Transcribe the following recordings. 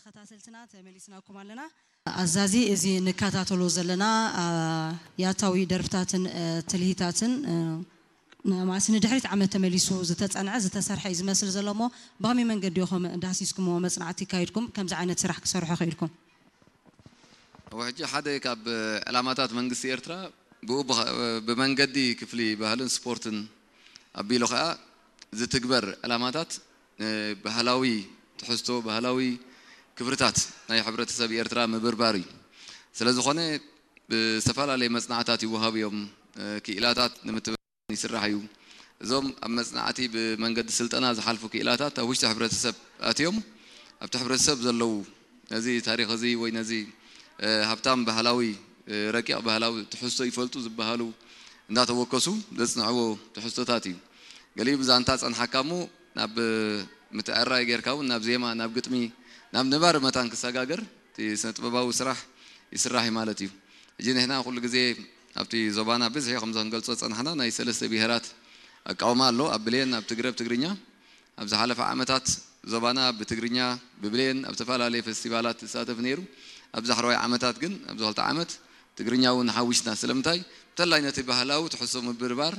ተኸታተልትና ተመሊስናኩም ኣለና። ኣዛዚ፣ እዚ ንከታተሎ ዘለና፣ አ፣ ያታዊ ደርፍታትን፣ እ፣ ትልሂታትን፣ እ፣ ን-፣ ማሲ ንድሕሪት ዓመት ተመሊሱ ዝተጸንዐ፣ ዝተሰርሐ እዩ ዝመስል ዘሎ እሞ፣ ብኸመይ መንገዲ ኢኹም ዳህሲስኩምዎ መጽናዕቲ ኣካይድኩም ከምዚ ዓይነት ስራሕ ክሰርሑ ክኢልኩም? ኣብ ሕጂ ሓደ ካብ ዕላማታት መንግስቲ ኤርትራ ብኡ ብኸ-፣ ብመንገዲ ክፍሊ ባህልን ስፖርትን ኣቢሉ ኸኣ ዝትግበር ዕላማታት፣ እ፣ ባህላዊ ትሕዝቶ፣ ባህላዊ ክብርታት ናይ ሕብረተሰብ ኤርትራ ምብርባር እዩ። ስለ ዝኾነ ብዝተፈላለየ መጽናዕታት ይወሃቡ እዮም። እ፣ ክኢላታት ንምትብባዕ ይስራሕ እዩ። እዞም ኣብ መጽናዕቲ ብመንገዲ ስልጠና ዝሓልፉ ክኢላታት ኣብ ውሽጢ ሕብረተሰብ ኣትዮም ኣብቲ ሕብረተሰብ ዘለዉ ነዚ ታሪኽ እዚ ወይ ነዚ፣ እ፣ ሃብታም ባህላዊ፣ እ፣ ረቂቕ ባህላዊ ትሕዝቶ ይፈልጡ ዝበሃሉ እንዳተወከሱ ዘጽንዕዎ ትሕዝቶታት እዩ። ገሊኡ ብዛንታ ጸንሓካ እሞ ናብ ምትዕራይ ጌርካ እውን ናብ ዜማ፣ ናብ ግጥሚ፣ ናብ ነባሪ መታን ክሰጋገር እቲ ስነ ጥበባዊ ስራሕ ይስራሕ እዩ ማለት እዩ። ሕጂ ንሕና ኩሉ ግዜ ኣብቲ ዞባና ብዝሒ ከምዚ ክንገልጾ ዝጸናሕና ናይ ሰለስተ ብሄራት ኣቃውማ ኣሎ። ኣብ ብሌን፣ ኣብ ትግረ፣ ኣብ ትግርኛ። ኣብ ዝሓለፈ ዓመታት ዞባና ብትግርኛ ብብሌን ኣብ ዝተፈላለየ ፈስቲቫላት ዝሳተፍ ነይሩ። ኣብዚ ዳሕረዋይ ዓመታት ግን ኣብዚ ክልተ ዓመት ትግርኛ እውን ሓዊስና። ስለምንታይ? እንተላይ ነቲ ባህላዊ ትሕዝቶ ምብርባር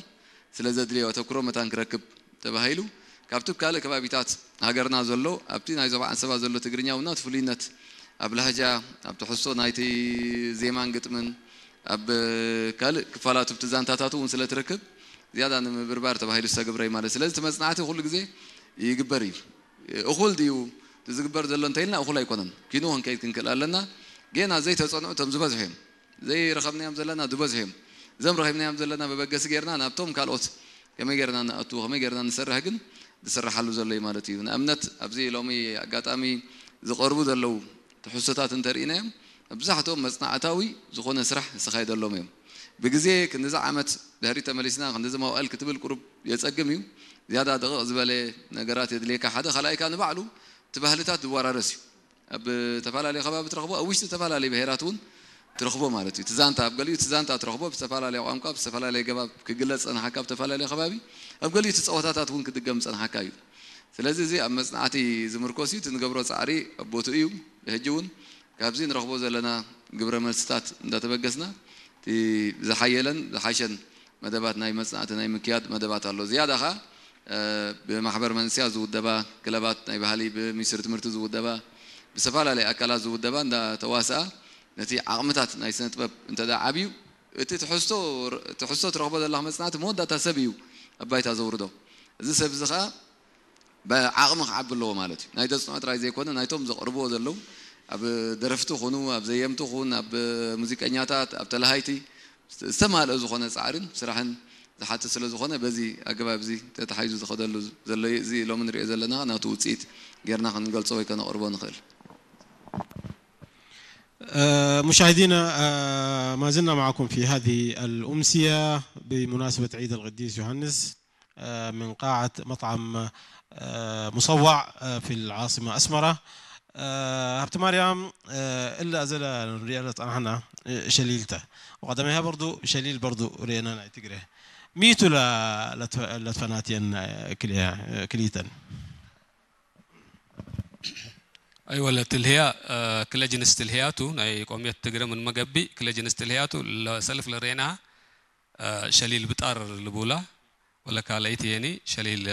ስለ ዘድልዮ፣ ኣተኩሮ መታን ክረክብ ተባሂሉ ካብቲ ካልእ ከባቢታት ሃገርና ዘሎ ኣብቲ ናይ ዞባ ዓንሰባ ዘሎ ትግርኛ እውን እቲ ፍሉይነት ኣብ ላህጃ፣ ኣብ ትሕዝቶ ናይቲ ዜማን ግጥምን ኣብ ካልእ ክፋላት ኣብቲ ዛንታታት እውን ስለ ትረክብ ዝያዳ ንምብርባር ተባሂሉ ዝተገብረ እዩ ማለት። ስለዚ እቲ መጽናዕቲ ኩሉ ግዜ ይግበር እዩ። እኹል ድዩ እቲ ዝግበር ዘሎ እንተኢልና እኹል ኣይኮነን። ኪኑ ክንከይድ ክንክእል ኣለና። ጌና ዘይተጸንዑ እቶም ዝበዝሑ እዮም። ዘይረኸብናዮም ዘለና ዝበዝሑ እዮም። እዞም ረኺብናዮም ዘለና መበገሲ ጌርና ናብቶም ካልኦት ከመይ ጌርና ንኣቱ፣ ከመይ ጌርና ንሰርሕ ግን ዝስራሓሉ ዘሎ እዩ ማለት እዩ። ንኣብነት ኣብዚ ሎሚ ኣጋጣሚ ዝቐርቡ ዘለዉ ትሕዝቶታት እንተርኢናዮም መብዛሕትኦም መጽናዕታዊ ዝኾነ ስራሕ ዝተኻየደሎም እዮም። ብግዜ ክንድዚ ዓመት ድሕሪት ተመሊስና ክንድዚ መዋእል ክትብል ቁሩብ የጸግም እዩ። ዝያዳ ደቕቕ ዝበለ ነገራት የድልየካ ሓደ። ካልኣይ ከኣ ንባዕሉ እቲ ባህልታት ዝወራረስ እዩ። ኣብ ዝተፈላለየ ከባቢ ትረኽቦ፣ ኣብ ውሽጢ ዝተፈላለየ ብሄራት እውን ትረኽቦ ማለት እዩ። እቲ ዛንታ፣ ኣብ ገሊኡ እቲ ዛንታ ትረኽቦ ብዝተፈላለየ ቋንቋ፣ ብዝተፈላለየ ገባብ ክግለጽ ጸንሓካ ኣብ ዝተፈላለየ ከባቢ፣ ኣብ ገሊኡ እቲ ጸወታታት እውን ክድገም ጸንሓካ እዩ። ስለዚ እዚ ኣብ መጽናዕቲ ዝምርኮስ እዩ። እቲ ንገብሮ ጻዕሪ ኣብ ቦትኡ እዩ። ሕጂ እውን ካብዚ ንረኽቦ ዘለና ግብረ መልስታት እንዳተበገስና እቲ ዝሓየለን ዝሓሸን መደባት ናይ መጽናዕቲ ናይ ምክያድ መደባት ኣሎ። ዝያዳ ኸኣ፣ እ፣ ብማሕበር መንስያ ዝውደባ ክለባት ናይ ባህሊ፣ ብሚኒስትሪ ትምህርቲ ዝውደባ፣ ብዝተፈላለየ ኣካላት ዝውደባ እንዳተዋስኣ ነቲ ዓቕምታት ናይ ስነ ጥበብ እንተ ደኣ ዓብዩ፣ እቲ ትሕዝቶ፣ ትሕዝቶ ትረኽቦ ዘለኻ መጽናዕቲ መወዳእታ ሰብ እዩ ኣብ ባይታ ዘውርዶ። እዚ ሰብ እዚ ኸኣ ብዓቕሚ ክዓቢ ኣለዎ ማለት እዩ። ናይ ዘጽንዖ ጥራይ ዘይኮነ፣ ናይቶም ዘቕርብዎ ዘለዉ፣ ኣብ ደረፍቲ ኹኑ፣ ኣብ ዘየምቲ ኹን፣ ኣብ ሙዚቀኛታት፣ ኣብ ተለሃይቲ፣ ዝተማልአ ዝኾነ ጻዕርን ስራሕን ዝሓትት ስለ ዝኾነ፣ በዚ ኣገባብ እዚ ተታሒዙ ዝኸደሉ ዘሎ እዩ። እዚ ሎሚ ንሪኦ ዘለና ናቱ ውጽኢት ጌርና ክንገልጾ ወይ ከነቕርቦ ንኽእል። آه، مشاهدينا، آه، ما زلنا معكم في هذه الأمسية بمناسبة عيد القديس يوحنس، آه، من قاعة مطعم، آه، مصوع، آه، في العاصمة أسمرة. آه، هبت مريم، آه، إلا أزل ريالة أنا، آه، شليلته. وقدمها برضو شليل برضو رينا نعتقره. ميتو لا، لا تف-، لا تفناتين، آه، كليا-، آه، كليتن. ኣይወለ ትልህያ፣ እ፣ ክለ ጅንስ ትልህያቱ ናይ ቆምየት ትግረ ምን መገቢ ክለ ጅንስ ትልህያቱ ለሰልፍ ለሬና፣ እ፣ ሸሊል ብጣር ልቡላ ወለ ካልአይት የኒ ሸሊል